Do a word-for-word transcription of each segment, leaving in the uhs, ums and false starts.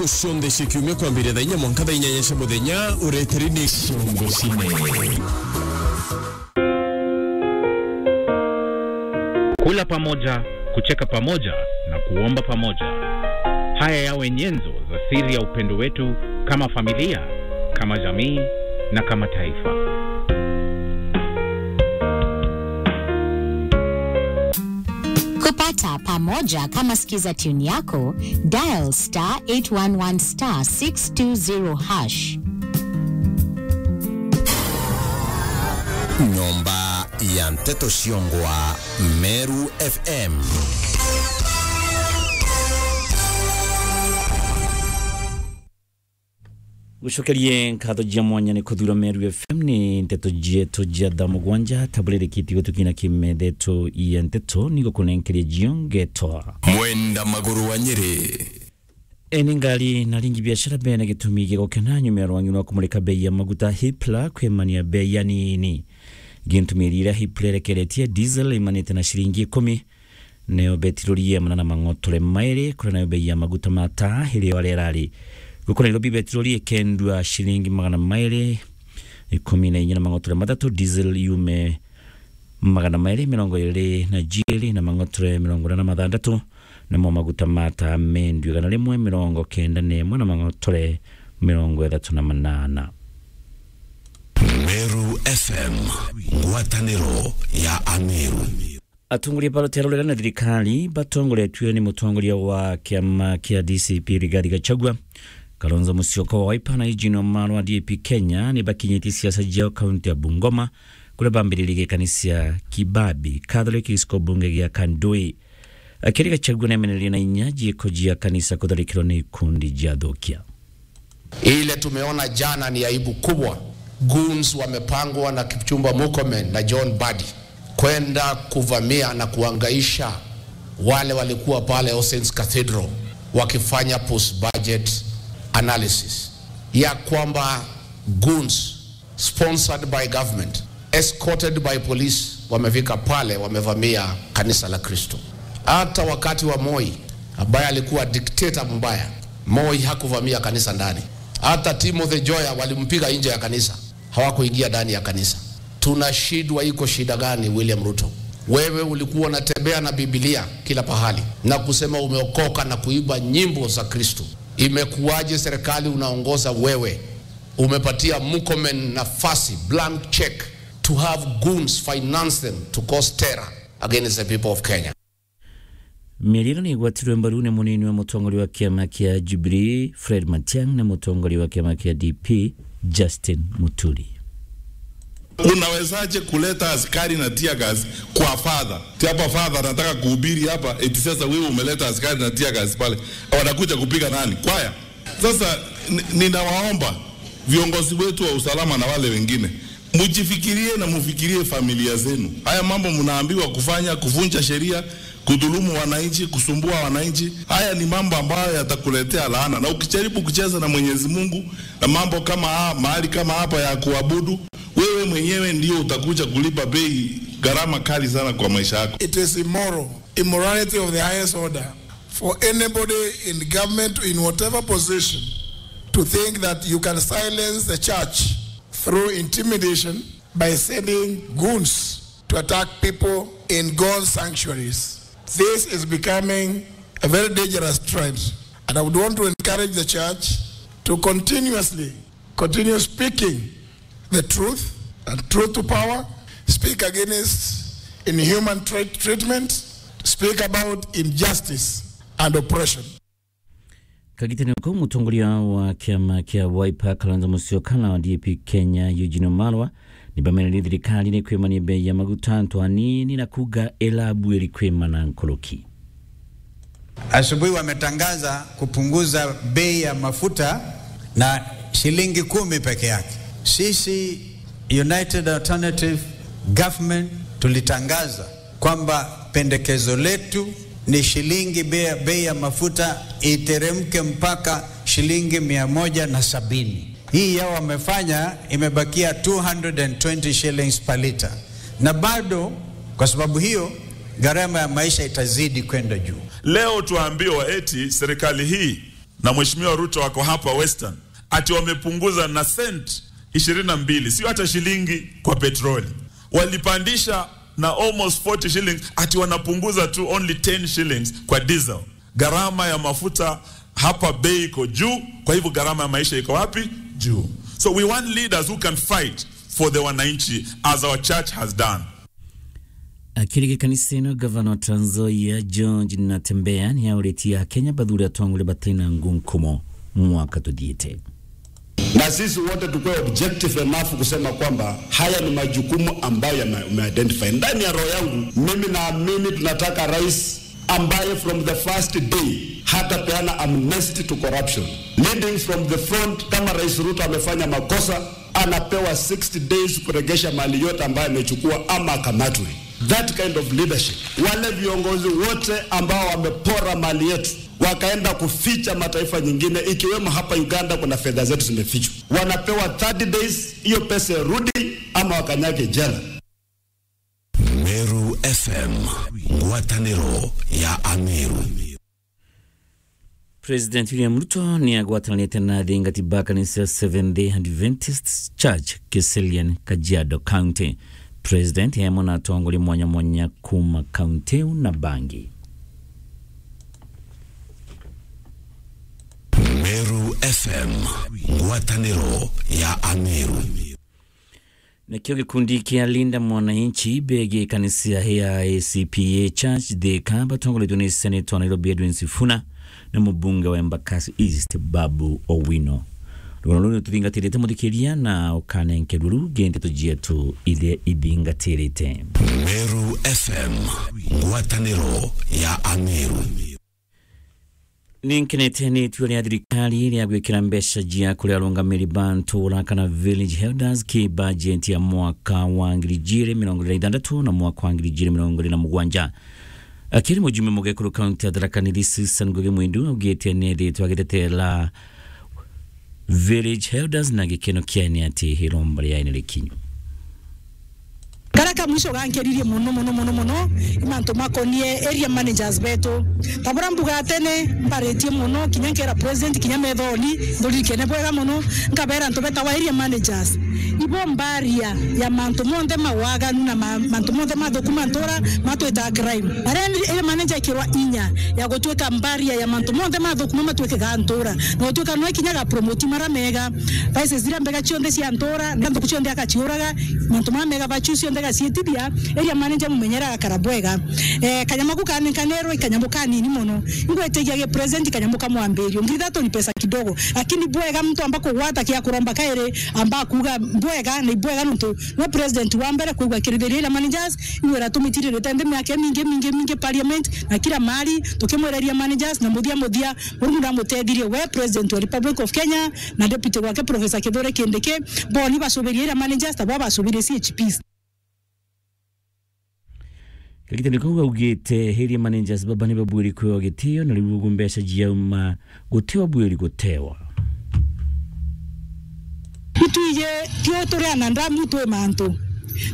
Cionthe cia kiumia kwambiria thaa inya mwanka thaa inyanya cia muthenya, ureteri ni Ciongo Cine. Kula pamoja, kucheka pamoja na kuomba pamoja. Haya yawe nyenzo za siri ya upendo wetu kama familia, kama jamii na kama taifa. Kupata pamoja kama sikiza tune yako, dial star eight one one star six two zero hash. Nyomba ya Nteto Ciongwa, Meru F M. Gucokerie nkatho cia mwanya ni kuthura Meru F M. Ni nteto cietu cia thaa mugwanja, taburirikiti gutukina kimethetho ya nteto, ni gukunenkeria cio ngetwa Mwenda Maguru wa Nyeri. Eni ngari na ringi biashara bene gitumi gia gukena nyuma ya rwangi rwa kumurika bei ya maguta Hipla kwimania bei ya nini. Gintumi iria Hipla irekeretie diesel imanite na ciringi ikumi, nayo betirori ya manana mang'otore mairi, kuria nayo bei ya maguta ma taa iri o aria irari. Guku Nairobi betirori ikendua ciringi magana mairi ikumi na inya na mang'otore mathatu, diesel yume magana mairi mirongo iri na jiiri na mang'otore mirongo ina na mathandatu, namo maguta ma taa mendue igana rimwe mirongo kenda na imwe na mang'otore mirongo ithatu na manana. Meru F M, ngwataniro ya Ameru. Atongoria ba ruteere rurega na thirikari batongoretue ni mutongoria wa kiama kia D C P Rigathi Gachagua, Kalonzo Musyoka wa Wiper na Eugene Wamalwa wa D A P Kenya ni bakinyitie siasa ciao kaunti ya Bungoma, kuria bambiririe gikanisa Kibabi Catholic giciko bunge gia Kandui. Akiaria Gachagua nemenerie na inya ciiko cia kanisa kutharikirwa ni ikundi cia athukia. Ile tumeona jana ni aibu kubwa. Goons wamepangwa na Kipchumba Murkomen na John Mbadi kwenda kuvamia na kuangaisha wale walikuwa pale All Saints Cathedral wakifanya post budget analysis ya kwamba goons sponsored by government, escorted by police, wamefika pale, wamevamia kanisa la Kristo. Hata wakati wa Moi, ambaye alikuwa dictator mbaya, Moi hakuvamia kanisa ndani. Hata Timothy Joya walimpiga nje ya kanisa, hawakuingia ndani ya kanisa. Tunashindwa, iko shida gani, William Ruto? Wewe ulikuwa unatembea na Biblia kila pahali na kusema umeokoka na kuimba nyimbo za Kristo. Imekuwaje serikali unaongoza wewe umepatia Murkomen nafasi, blank check, to have goons finance them to cause terror against the people of Kenya? Miario ino ni igwatirwe mbaru ni munini wa mutongoria wa kiama kia Jubilee, Fred Matiang'i, na mutongoria wa kiama kia D P, Justin Muturi. Unawezaje kuleta askari na tear gas kwa father? Ti hapa father anataka kuhubiri hapa, eti sasa wewe umeleta askari na tear gas pale. Wanakuja kupiga nani? Kwaya? Sasa ni-, ninawaomba viongozi wetu wa usalama na wale wengine, mjifikirie na mufikirie familia zenu. Haya mambo mnaambiwa kufanya, kuvunja sheria, kudhulumu wananchi, kusumbua wananchi, haya ni mambo ambayo yatakuletea laana. Na ukijaribu kucheza na Mwenyezi Mungu na mambo kama ha-, mahali kama hapa ya kuabudu, wewe mwenyewe ndio utakuja kulipa bei, gharama kali sana kwa maisha yako. It is immoral, immorality of the highest order for anybody in government, in whatever position, to think that you can silence the church through intimidation by sending goons to attack people in God's sanctuaries. This is becoming a very dangerous trend, and I would want to encourage the church to continuously continue speaking the truth and truth to power, speak against inhuman treat-, treatment, speak about injustice and oppression. Kagitene kau, mutongoria wa kiama kia Wiper, Kalonzo Musyoka, na wa D A P Kenya, Eugene Wamalwa, ni bamenerie thirikari ni kwimania bei ya maguta antu anini na kuuga irabuiri kwimana nkuruki. Asubuhi wametangaza kupunguza bei ya mafuta na shilingi kumi peke yake. Sisi United Alternative Government tulitangaza kwamba pendekezo letu ni shilingi bei, bei ya mafuta iteremke mpaka shilingi mia moja na sabini. Hii yao wamefanya, imebakia two hundred and twenty shillings per litre. Na bado, kwa sababu hiyo, gharama ya maisha itazidi kwenda juu. Leo tuambiwa eti serikali hii na Mheshimiwa Ruto wako hapa Western, ati wamepunguza na cent ishirini na mbili, sio hata shilingi kwa petroli. Walipandisha na almost forty shillings, ati wanapunguza tu only ten shillings kwa diesel. Gharama ya mafuta hapa bei iko juu, kwa hivyo gharama ya maisha iko wapi? Juu. So we want leaders who can fight for the wananchi as our church has done. Akiri gikanisa ino, gavana wa Trans Nzoia George Natembeya ni auritie Akenya bathure atongoria batina ngunkumo mwaka tuthiite. Na sisi wote tukue objective enough kusema kwamba haya ni majukumu ambayo yame-, umeidentify. Ndani ya roho yangu, mimi naamini tunataka rais ambaye from the first day hatapeana amnesty to corruption. Leading from the front, kama Rais Ruto amefanya makosa, anapewa sixty days kuregesha mali yote ambayo amechukua ama akamatwe. That kind of leadership. Wale viongozi wote ambao wamepora mali yetu, wakaenda kuficha mataifa nyingine, ikiwemo hapa Uganda kuna fedha zetu zimefichwa. Wanapewa thirty days, hiyo pesa irudi ama wakanyage jela. Meru F M, ngwataniro ya Ameru. President William Ruto ni agwatanite na athingati ba kanisa ya Seventh Day Adventist Church Kiserian, Kajiado County. President e amwe na atongoria mwanya mwanya kuma kaunti iu na bangi. Meru F M, ngwataniro ya Ameru. Nakio gikundi kia Linda Mwananchi begie kanisa ya A C P A Church Thika batongoretwe ni Senator wa Nairobi Edwin Sifuna na mubunge wa Embakasi East Babu Owino. Rugano ruu tuthingatirite muthikiria na ukanenkerua rungi ndeto cietu iria ithingatirite. Meru F M, ngwataniro ya Ameru. Ni nkenete ni itua ria thirikari ria gwikira mbeca cia kuria arungamiri ba ntura kana village elders ki bajeti ya mwaka wa ngiri igiri mirongo iri na ithantatu na mwaka wa ngiri igiri mirongo iri na mugwanja. Akiri mujumbe mugekuru kaunti ya Tharaka Nithi Susan Ngugi Mwindu augite ni ethitwe agitetera village elders na gikeno kiaene ati iromba riaene rikinyu. Karia ka mwisho gankeririe mono, mono, mono, mono, ni mantu makonie area managers betu. Ta buria mbuga tene, mbaritie mono, kinya nkera president, kinya methoni, nduririkene bwega mono, nkabera antu betawa area managers. Ibo mbaria ya mantu monthe mawaganu na ma-, mantu monthe mathuku ma ntura matwita crime. Aria area manager ekirwa inya ya gutuika mbaria ya mantu monthe mathuku ma matwike ga ntura. Na gutuika no ikinya ga promote mara mega. Vices ziria mbega cionthe cia ntura, na nthuku cionthe akaciuraga, mantu mara mega vachu cionthe gaciitithia, area manager mumenyera agakara bwega. Eh, kanyamu ku kanenkanerwe, kanyamu kanini mono. Ingwetigia gi president kanyamu ka mwambirio. Ngiri ithatu ni pesa kidogo. Lakini bwega muntu amba kugwata kia kuromba kairi, amba kuga bwega, ni bwega nontu no president wa mbere kwigua kirithiria area managers, iwe iratumitiririte nthi miaka mingi, mingi, mingi parliament, na kila mahali, tukimwira area managers, na muthia muthia, Murungu ndamuteithirie we, President wa Republic of Kenya, na Deputy wake Professor Kithure Kindiki, bo ni bacubirie area managers, ta bo bacubirie C H Ps. Kagitani kau augite area managers baba ni babwiri kwiwa gitio, na riu ugu mbeca ciauma guti obwiri gutewa. Itwije tio turi anadamu twi mantu.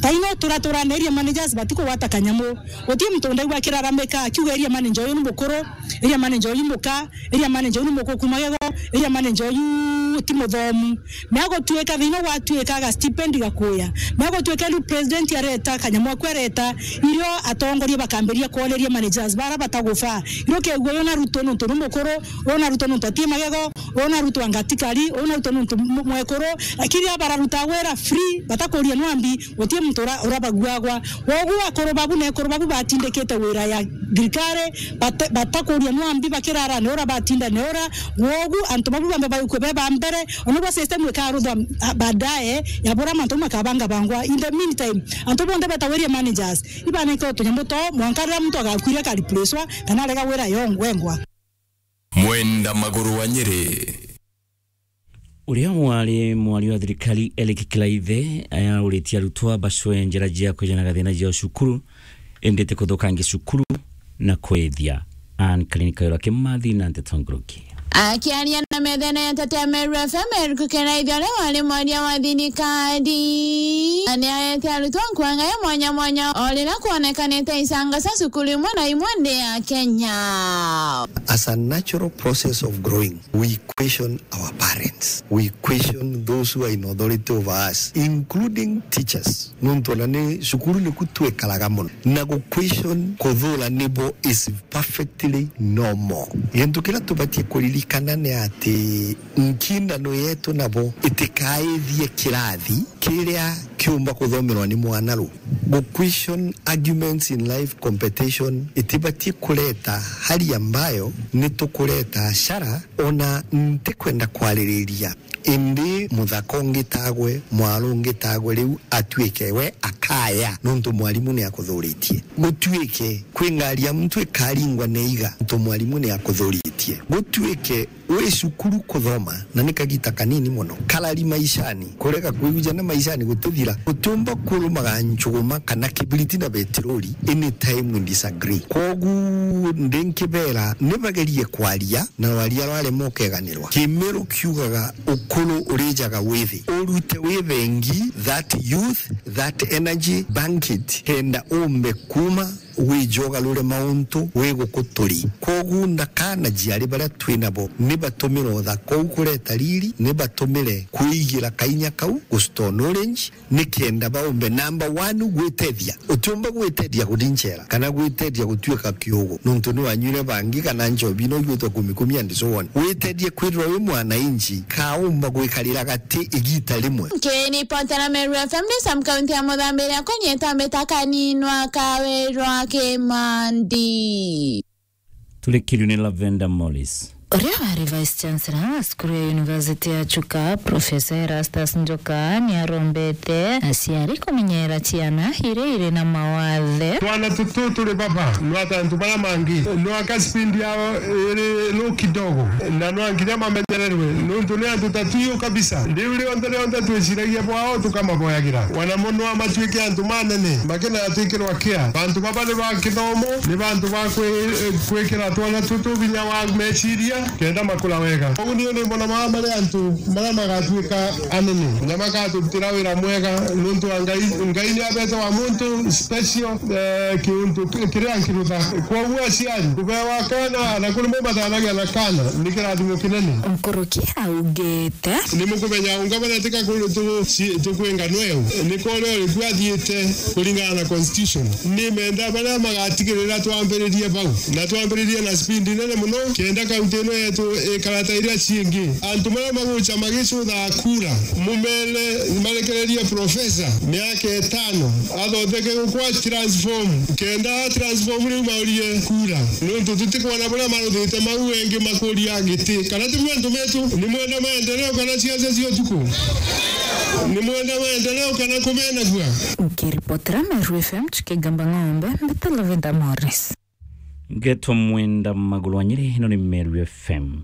Taino turatura na area managers batikugwata kanyamu. Guti muntu ndaigua akiraramika akiuga area manager uyu ni mukuru, area manager uyu muka, area manager uyu ni mukuku magego, area manager uyu ti muthomu. Ni agutuika thina gwatuika ga stipend gakuya. Ni agutuika riu president areta, kanyamu aku areta, irio atongoria bakambiria kwoneria managers bara batagufa. Irio kegua uyu na Ruto nontu ni mukuru, uyu na Ruto nontu ati magego, uyu na Ruto angatikari, uyu na Ruto nontu mu-, mwekuru. Lakini aba bararuta wira free, batakuria nwambi, guti muntu ura-, urabaguagwa. Wogu akuru babu na ekuru babu batindikite wira ya thirikari, bate-, batakuria nwambi bakirara ni ura batinda ni ura. Wogu antu babu bambe baikwe be ba mbere, ona bwa system ikaruthwa, ah, baadaye, ya bura mantu makabanga bangwa. In the meantime, antu bonthe betawa area managers, ibanenkerwe tunyamu twao, mwanka riria muntu agakuire akareplacewa, kana arega wira yongwa, wengwa. Mwenda maguru wa Nyeri. Uria wari mwari wa thirikari Eric Kilaithe auritie arutwo bacwe njira cia kwijanaga thina cia cukuru, indi ti kuthukangia cukuru na kwithia. Anne Kalini Kayora Kimathi na ndeto nguruki. Akiaria na methene ya Tetea Meru F M, Eric Kiraithe, uria wari mwaria wa thirikari, na ni aete arutwa nkuanga ya mwanya mwanya o riria kwonekanite icanga cia cukuru imwe na imwe nthi ya Kenya. As a natural process of growing, we question our parents. We question those who are in authority over us, including teachers. Nontu ona ni cukuru niku twikaraga mono. Na gu question kuthura nibo is perfectly normal. Gintu kiria tubatie kuririkana ni ati nkindano yetu nabo itikaithie kirathi kiria kiumba kuthomerwa ni mwana ru. Gu question arguments in life competition itibatie kureta hali ambayo ni tukureta ashara. Ona ntikwenda kwaririria, indi muthaka ungitagwe, mwaro ungitagwe, riu atuike we akaya nontu mwarimu ni akuthuritie. Gutuike kwi ngari ya muntu ikaringwa ni iga nontu mwarimu ni akuthuritie. Gutuike wi cukuru kuthoma na ni kagita kanini mono. Karari maishani, kurega kwigujana maishani gutithira. Utiumba kurumaga njuguma kana kibiriti na betirori anytime we disagree. Kwogu ndi nkibera ni bagerie kwaria na rwaria rwarema ukeganirwa. Kimiru kiugaga ukuru urijaga withi. Urute withengi that youth, that energy, bank it, kenda umbe kuma wije ugarure mauntu wi guku turi. Kwogu ndakana jiari baria twi nabo ni batumire uthaka uu kureta riri, ni batumire kwigira kainya kau gu stone orange, ni kenda baumbe number one gwitethia. Utiumba gwitethia kurinchera kana gwitethia gutuika kiugu nontu ni wanyuire bangi kana nchobi no igwitwa kumi kumi and so on. Witethie kwithirwa wi mwananchi kaumba gwikarira gati igita rimwe. Nkiripotera Meru F M ni Sam kaunti ya Muthambiria kunyita mbita kaninwa kawirwa Kimandi. Turikirwe ni Lavender Morris. Uria wari Vice Chancellor wa cukuru ya University ya Chuka, Professor Erastus Njoka, ni arombete aciari kumenyera ciana iria iri na mawathe. Twana tutu turi baba, nwata antu baria mangi, nwaka speed yao iri low kidogo, na nwa nginya mamenyererwe, nontu ni antu ta tuyu kabisa. Riu rionthe rionthe twiciragia bwao tukamaboyagira, wana mono amatuike antu manene, makenatwikirwa care. Bantu baba ni ba kithomo, ni bantu ba kwi-, kwikira twana tutu vinya wa meciria, kenda makura wega. Koguo niu ni mbona mama mari antu maria magatuika anene, na makaturutira wira mwega, nontu wa Ngai, Ngai ni abete wa muntu special, eh, kiuntu ki-, kiria nkirutha. Kwoguo aciari, kubewa kana, na kuri mwe mathanagia na kana, ni kirathimo kinene. Nkuruki augite. Ni mukumenya unga baria tika kuru tu-, ci-, tukwinga nweu. Ni kore uri ku athiite kuringana na constitution. Ni menda baria magatigirira twambiririe bau. Na twambiririe na speed nene muno, kenda kaunti ino yetu ikara ta iria ciingi. Antu baria magucha magicutha kura, mumere marekererie professor miaka itano, athotheke gukwa transform, kenda transform riu maurie kura. Nontu tutikwona buria maruthite mau engi makuria giti. Kana ti mwe antu metu, ni mwenda maendeleo kana ciaca cia utuku? Ni mwenda maendeleo kana kumenagua? Nkiripotera Meru F M, Chikigamba Ng'ombe, mbita Lavender Morris. Ngeto Mwenda Magulu wa Nyeri, ino ni Meru F M.